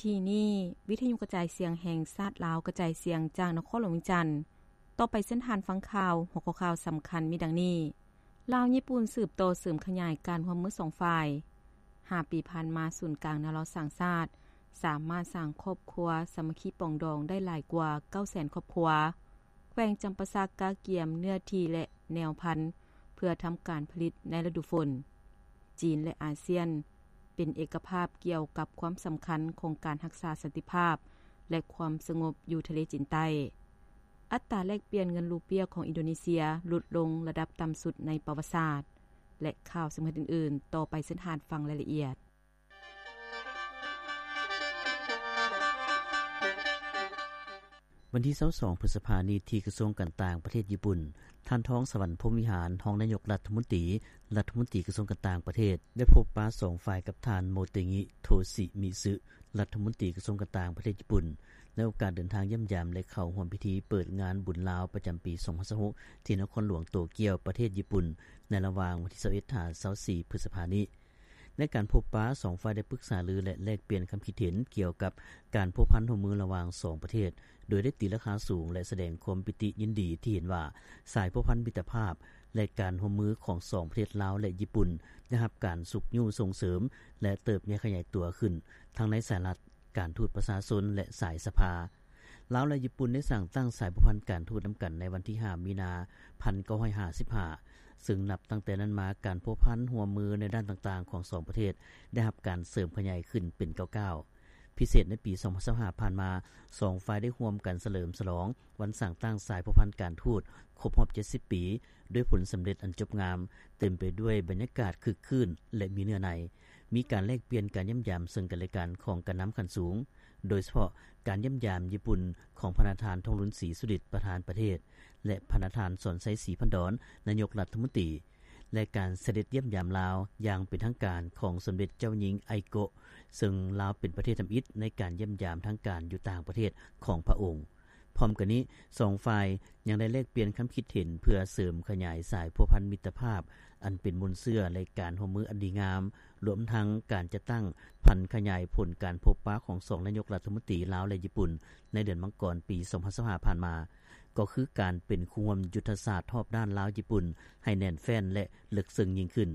ທີ່ນີ້ ວິທະຍຸກະຈາຍສຽງແຫ່ງຊາດລາວ ກະຈາຍສຽງຈາກນະຄອນຫຼວງວຽງຈັນ. ຕໍ່ໄປເຊີນທ່ານຟັງຂ່າວ. ຫົວຂໍ້ຂ່າວສຳຄັນມີດັ່ງນີ້: ລາວ-ຍີ່ປຸ່ນສືບຕໍ່ເສີມຂະຫຍາຍການຮ່ວມມືສອງຝ່າຍ. ຫ້າປີຜ່ານມາ ສູນກາງແນວລາວສ້າງຊາດ ສາມາດສ້າງຄອບຄົວສາມັກຄີປອງດອງໄດ້ຫຼາຍກວ່າເກົ້າແສນຄອບຄົວ. ແຂວງຈຳປາສັກກະກຽມເນື້ອທີ່ ແລະ ແນວພັນ ເພື່ອທຳການຜະລິດໃນລະດູຝົນ. ຈີນ ແລະ ອາຊຽນ ເປັນເອກະພາບກ່ຽວກັບຄວາມສຳຄັນຂອງການຮັກສາສັນຕິພາບ ແລະ ຄວາມສະຫງົບຢູ່ທະເລຈີນໃຕ້. ອັດຕາແລກປ່ຽນເງິນຣູເປຍຂອງອິນໂດເນເຊຍຫຼຸດລົງລະດັບຕ່ຳສຸດໃນປະຫວັດສາດ ແລະ ຂ່າວສຳຄັນອື່ນໆ. ຕໍ່ໄປເຊີນທ່ານຟັງລາຍລະອຽດ. ວັນທີຊາວສອງ ພຶດສະພານີ້ ທີ່ກະຊວງການຕ່າງປະເທດຍີ່ປຸ່ນ, ທ່ານ ທອງສະຫວັນ ພົມວິຫານ ຮອງນາຍົກລັດຖະມົນຕີ, ລັດຖະມົນຕີກະຊວງການຕ່າງປະເທດ ໄດ້ພົບປະສອງຝ່າຍກັບທ່ານ ໂມເຕງິ ໂທຊິມິຊຶ ລັດຖະມົນຕີກະຊວງການຕ່າງປະເທດຍີ່ປຸ່ນ ໃນໂອກາດເດີນທາງຢ້ຽມຢາມ ແລະ ເຂົ້າຮ່ວມພິທີເປີດງານບຸນລາວປະຈຳປີສອງພັນຊາວຫົກ ທີ່ນະຄອນຫຼວງໂຕກຽວ ປະເທດຍີ່ປຸ່ນ ໃນລະຫວ່າງວັນທີຊາວເອັດ ຫາ ຊາວສີ່ ພຶດສະພານີ້. ໃນການພົບປະ, ສອງຝ່າຍໄດ້ປຶກສາລື ແລະ ແລກປ່ຽນຄຳຄິດເຫັນກ່ຽວກັບການພົວພັນຮ່ວມມືລະຫວ່າງສອງປະເທດ, ໂດຍໄດ້ຕີລາຄາສູງ ແລະ ສະແດງຄວາມປີຕິຍິນດີທີ່ເຫັນວ່າ ສາຍພົວພັນມິດຕະພາບ ແລະ ການຮ່ວມມືຂອງສອງປະເທດລາວ ແລະ ຍີ່ປຸ່ນ ໄດ້ຮັບການຊຸກຍູ້ສົ່ງເສີມ ແລະ ເຕີບໃຫຍ່ຂະຫຍາຍຕົວຂຶ້ນ ທັງໃນສາຍລັດ, ການທູດປະຊາຊົນ ແລະ ສາຍສະພາ. ລາວ ແລະ ຍີ່ປຸ່ນ ໄດ້ສ້າງຕັ້ງສາຍພົວພັນການທູດນຳກັນໃນວັນທີຫ້າ ມີນາ ພັນເກົ້າຮ້ອຍຫ້າສິບຫ້າ ເຊິ່ງນັບຕັ້ງແຕ່ນັ້ນມາ ການພົວພັນຮ່ວມມືໃນດ້ານຕ່າງໆຂອງສອງປະເທດ ໄດ້ຮັບການເສີມຂະຫຍາຍຂຶ້ນເປັນກ້າວໆ. ພິເສດໃນປີສອງພັນຊາວຫ້າຜ່ານມາ, ສອງຝ່າຍໄດ້ຮ່ວມກັນສະເຫຼີມສະຫຼອງວັນສ້າງຕັ້ງສາຍພົວພັນການທູດຄົບຮອບເຈັດສິບປີ ດ້ວຍຜົນສຳເລັດອັນຈົບງາມ, ເຕັມໄປດ້ວຍບັນຍາກາດຄຶກຄື້ນ ແລະ ມີເນື້ອໃນ. ມີການແລກປ່ຽນການຢ້ຽມຢາມເຊິ່ງກັນແລະກັນຂອງການນຳຂັ້ນສູງ, ໂດຍສະເພາະການຢ້ຽມຢາມຍີ່ປຸ່ນຂອງພະນະທ່ານ ທອງລຸນ ສີສຸລິດ ປະທານປະເທດ ແລະ ພະນະທ່ານ ສອນໄຊ ສີພັນດອນ ນາຍົກລັດຖະມົນຕີ ແລະ ການສະເດັດຢ້ຽມຢາມລາວຢ່າງເປັນທາງການຂອງສົມເດັດເຈົ້າຍິງ ໄອໂກະ ເຊິ່ງລາວເປັນປະເທດທຳອິດໃນການຢ້ຽມຢາມທາງການຢູ່ຕ່າງປະເທດຂອງພະອົງ. ພ້ອມກັນນີ້, ສອງຝ່າຍຍັງໄດ້ແລກປ່ຽນຄຳຄິດເຫັນເພື່ອເສີມຂະຫຍາຍສາຍພົວພັນມິດຕະພາບອັນເປັນມູນເຊື້ອ ແລະ ການຮ່ວມມືອັນດີງາມ, ລວມທັງການຈັດຕັ້ງຜັນຂະຫຍາຍຜົນການພົບປະຂອງສອງນາຍົກລັດຖະມົນຕີລາວ ແລະ ຍີ່ປຸ່ນ ໃນເດືອນມັງກອນ ປີສອງພັນຊາວຫ້າຜ່ານມາ, ກໍຄືການເປັນຄູ່ຮ່ວມຍຸດທະສາດຮອບດ້ານລາວ-ຍີ່ປຸ່ນໃຫ້ແໜ້ນແຟ້ນ ແລະ ເລິກເຊິ່ງຍິ່ງຂຶ້ນ,